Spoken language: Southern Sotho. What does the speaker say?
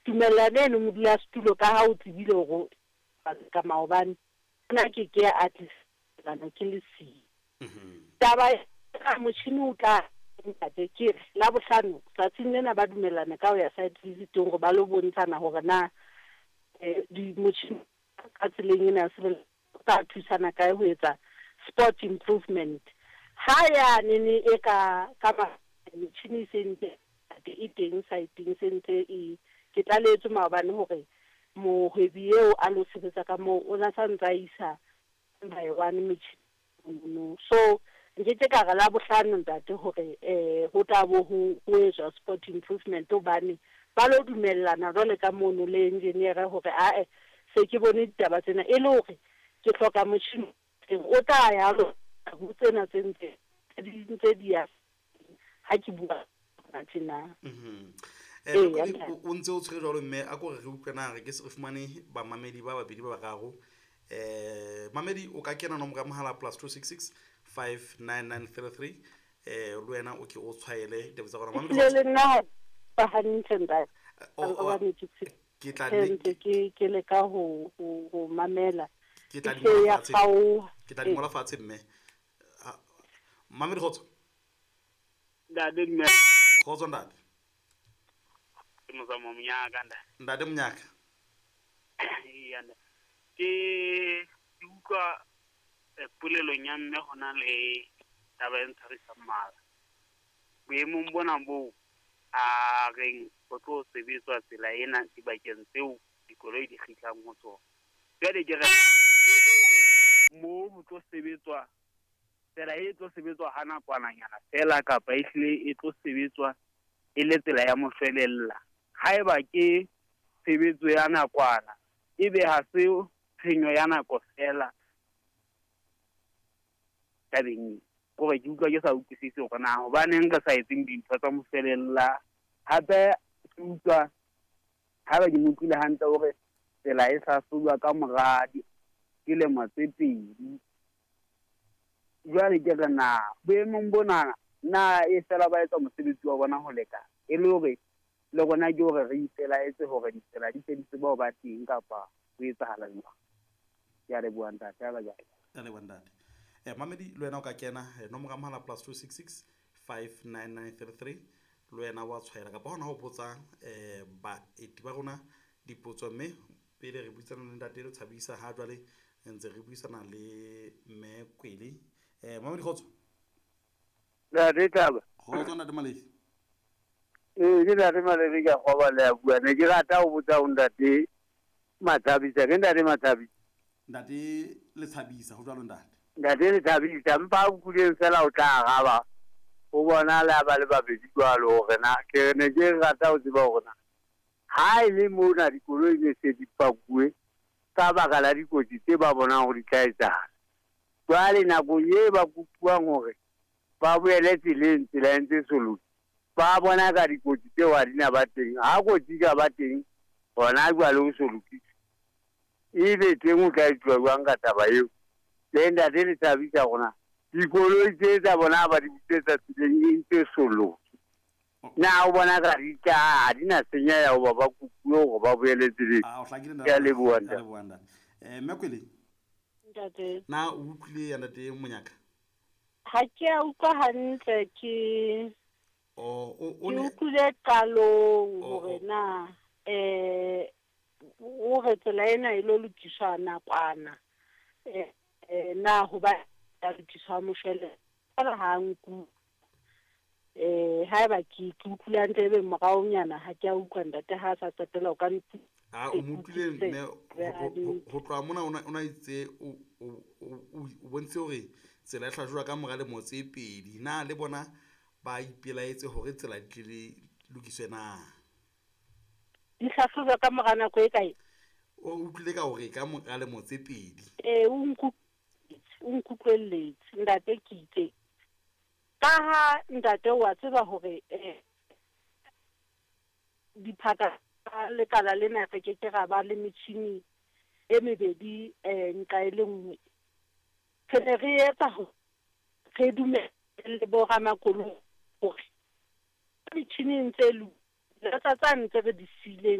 Tumellano eno modulasetulo ka ha o tsebile hore ka maobane nna ke ke a tlisa ke le siyo. Taba ya motjhini o tla ntate ke re Labohlano tsatsing lena ba dumellana ka ho ya site visit-eng hore ba lo bontshana hore na di motjhini ka tseleng ena ya o tla thusana kae ho etsa spot improvement. Ha yane e ka ka metjhini e se ntse e teng site-eng se ntse e ke tlalehetswe maobane hore mohwebi eo a lo sebetsa ka moo o na sa ntsa isa one by one metjhini no. So nkeke ka re Labohlano ntate hore ho tla bo ho etswa spot improvement hobane ba lo dumellana jwale ka mono le engineer hore ae se ke bone ditaba tsena e le hore ke hloka motjhini o tla ya lo ho tsena tse ntse di ntse di ya ha ke bua tjena. O ntse o tshwere jwalo mme a ko re re utlwe na re ke se re fumane bamamedi ba babedi ba bararo. Mamedi o ka kena nomoro ya mohala +266 599 33 le wena o ke o tshwaele ditaba tsa rona. Mamedi le nna ba hantle ntate. Ke tla ke leka ho mamela. Ke tla di ngola fatshe. Ke tla di ngola fatshe mme. Mamedi kgotso. Ntate mme. Kgotso ntate. Ke Mozamo Monyaka ntate. Ntate Monyaka. Iya ntate. Ke utlwa polelong ya mme hona le taba e ntshwarisang mala. Boemong bona boo a reng ho tlo sebetswa tsela ena dibakeng tseo dikoloi di kgitlang ho tsona. Jwale ke re moo ho tlo sebetswa tsela e tlo sebetswa ha nakwananyana fela kapa ehlile e tlo sebetswa e le tsela ya moshwelella. Haeba ke tshebetso ya nakwana ebe ha se tshenyo ya nako fela tabeng kore ke utlwa ke sa utlwisise hore na hobaneng re sa etseng dintho tsa moshwelella. Hape ke utlwa haeba ke mo utlwile hantle hore tsela e hlahlojwa ka mora dilemo tse pedi. Jwale ke re na boemong bona na e fela ba etsa mosebetsi wa bona ho lekana e le hore le rona ke hore re ipelaetse hore ditsela di se di tseba ho ba teng kapa ho etsahala jwang. Ke a leboha ntate. A leboha ntate. Mamedi le wena o ka kena nomoro ya mohala +266 59933 le wena wa tshwaela kapa hona ho botsa baeti ba rona dipotso mme pele re buisana le ntate le Tshabisa ha jwale ntse re buisana le mme Kwele. Mamedi kgotso. Ntate Thaba. Kgotso ntate Molefi. Ke ntate Molefi ka kgoba le a bua. Ne ke rata ho botsa ho ntate Matshabisa. Ke ntate Matshabisa. Ntate le Tshabisa ho jwalo ntate. Ntate le Tshabisa mpa o kuleng fela o tla araba. O bona le ba le babedi jwalo hore na ke ne ke rata ho tseba hore na ha e le mona dikoloi ne se di pakuwe ka baka la dikotsi tse ba bonang hore di tla etsahala. Jwale nakong e ba kopuwang hore ba boele tseleng, tsela e ntse soloki, ba bona ka dikotsi tseo ha di na ba teng. Ha kotsi ka ba teng hona jwale o solokiswe, ebe teng o tla etsuwa jwang ka taba eo? Le ntate le Tshabisa rona dikoloi tse tsa bona ba di busetsa tseleng e ntse soloki. Na o bona ka di tla ha di na senyeha hoba ba kopuwe hore ba boele tseleng. Ke a leboha ntate. Mme Kwele. Ntate. Na o utlwile ya ntate Monyaka? Ha ke a utlwa hantle ke utlwile qalong hore na o re tsela ena e lo lokiswa nakwana na hoba ya lokiswa moshwele ha nku haeba ke utlwile hantle ebe moraonyana ha ke a utlwa ntate ha sa qetela o ka ntse. O mo utlwile mme ho tloha mona o na itse o bontshitse hore tsela e hlajwa ka mora lemo tse pedi. Na le bona ba ipelaetse hore tsela di tle di lokiswe na? Di hlahlojwa ka mora nako e kae? O utlwile ka hore ka mora lemo tse pedi. O nkutlwelletse ntate ke itse. Ka ha ntate wa tseba hore diphaka lekala lena re ke ke ra ba le metjhini e mebedi nqa e le nngwe. Re ne re etsa re dumelle bo ramakoloi hore metjhini e ntse e lokile tsa ntse re di siileng.